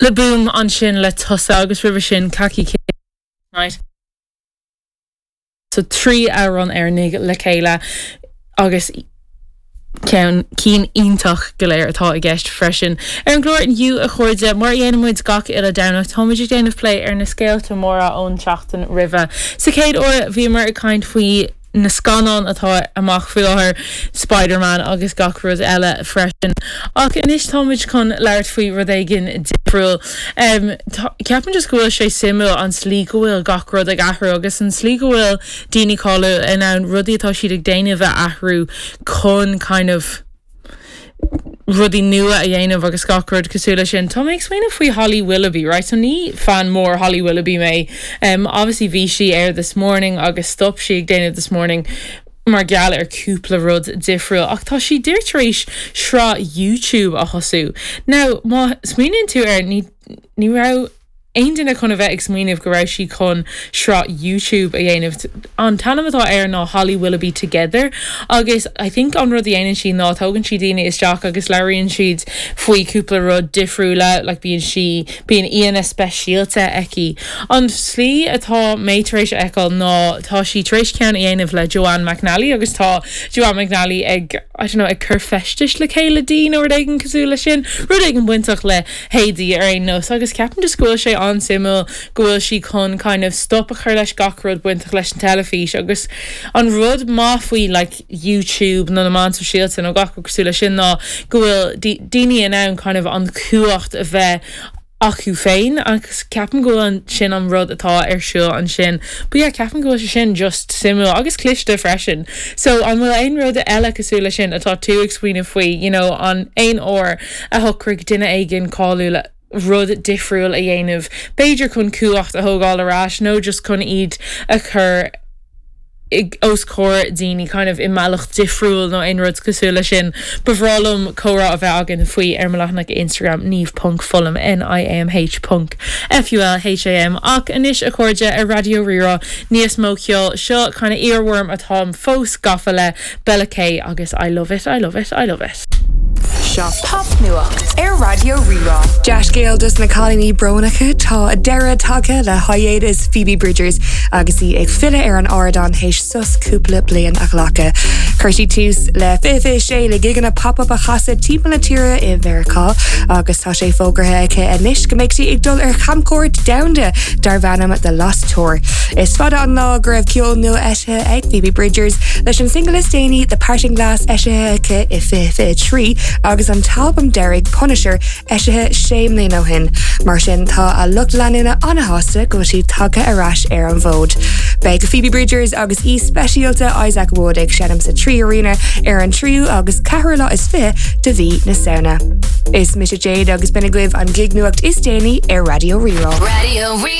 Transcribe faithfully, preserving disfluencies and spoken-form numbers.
Le Boom ansin le Tusa agus roimhe sin Kaki Night. So trí amhrán Éireannaigh le chéile agus ceann cinn iontach go léir atá i gceist freisin. Ar an gclár inniu a chairde mar a dhéanann muid gach uile Domhnach táimid ag déanamh plé ar na scéalta móra ón tseachtain roimhe. Sa chéad uair bhíomar ag caint faoi na scannáin atá amach faoi láthair Spider-Man agus gach rud eile freisin. Ach anois táimid chun labhairt faoi rud éigin difriúil. Um, Ceapaim just go bhfuil sé suimiúil an slí go bhfuil gach rud ag athrú agus an slí go bhfuil daoine cáiliúla in ann rudaí atá siad ag déanamh a athrú chun kind of rudaí nua a dhéanamh agus gach rud cosúil leis sin. Tá mé ag smaoineamh faoi Holly Willoughby, right? So ní fan mór Holly Willoughby mé. Um, obviously bhí sí ar this morning agus stop sí ag déanamh this morning mar gheall ar cúpla rud difriúil ach tá sí díreach tar éis sraith YouTube a thosú. Now má smaoiníonn tú air ní ní raibh aon duine chun a bheith ag smaoineamh go raibh sí chun sraith YouTube a dhéanamh. An t-ainm atá air ná Holly Willoughby Together agus I think an rud a dhéanann sí ná tógann sí daoine isteach agus labhraíonn siad faoi cúpla rud difriúla, like bíonn sí bíonn aíonna speisialta aici. An slí atá mé tar éis a fheiceáil ná tá sí tar éis ceann a dhéanamh le Joanne McNally agus tá Joanne McNally ag I don't know, ag cur feistis le chéile di nó rud éigin cosúil le sin, rud éigin bainteach le héadaí ar aon nós agus ceapaim just go bhfuil sé an-suimiúil go bhfuil sí chun kind of stop a chur leis gach rud bainteach leis an teilifís agus an rud maith faoi like YouTube nó na meáin sóisialta nó gach cosúil leis sin ná go bhfuil daoine in ann kind of an chumhacht a bheith acu féin agus ceapaim go bhfuil sin an rud atá ar siúl ansin. But yeah, ceapaim go bhfuil sé sin just suimiúil agus cliste freisin. So an bhfuil aon rud eile cosúil leis sin atá tú ag smaoineamh faoi, you know, an aon uair a shocraigh duine éigin cáiliúil rud difriúil a dhéanamh, B'fhéidir chun cumhacht a thógáil ar ais nó just chun iad a chur os comhair daoine kind of i mbealach difriúil nó aon rud cosúil leis sin. Ba bhreá liom comhrá a bheith againn faoi ar mo leathanach Instagram niamh.fulham NIAMH ponc FULHAM ach anois a chairde ar Raidió Rí-Rá níos mó ceol seo kind of earworm atá fós gafa le Bella K agus I love it, I love it, I love it. Seo Popnuacht ar Raidió Rí-Rá. Dea-scéal dos na cailíní brónacha tá deireadh tagtha le hiatus Phoebe Bridgers agus í ag filleadh ar an ardán théis sos cúpla bliain a ghlacadh. Chuir sí tús le fiche sé le gigeanna pop-up a chasadh timpeall na tíre i Meiriceá agus tá sé fógartha aici anois go mbeidh sí ag dul ar chamchuairt domhanda darb ainm The Lost Tour. Is fada an lá go raibh ceol nua eisithe ag Phoebe Bridgers leis an single is déanaí The Parting Glass eisithe aici i fiche trí agus an t-albam deiridh Punisher eisithe sé mbliana ó shin. Mar sin tá a lucht leanúna an-sásta go bhfuil sí tagtha ar ais ar an bhfód. Beidh Phoebe Bridgers agus aoi speisialta Isaac Wood ag seinm sa Three Arena ar an tríú agus ceathrú lá is fiche de mhí na Samhna. Is mise Jade agus b'in agaibh an gig nuacht is déanaí ar Raidió Rí-Rá. Radio Rí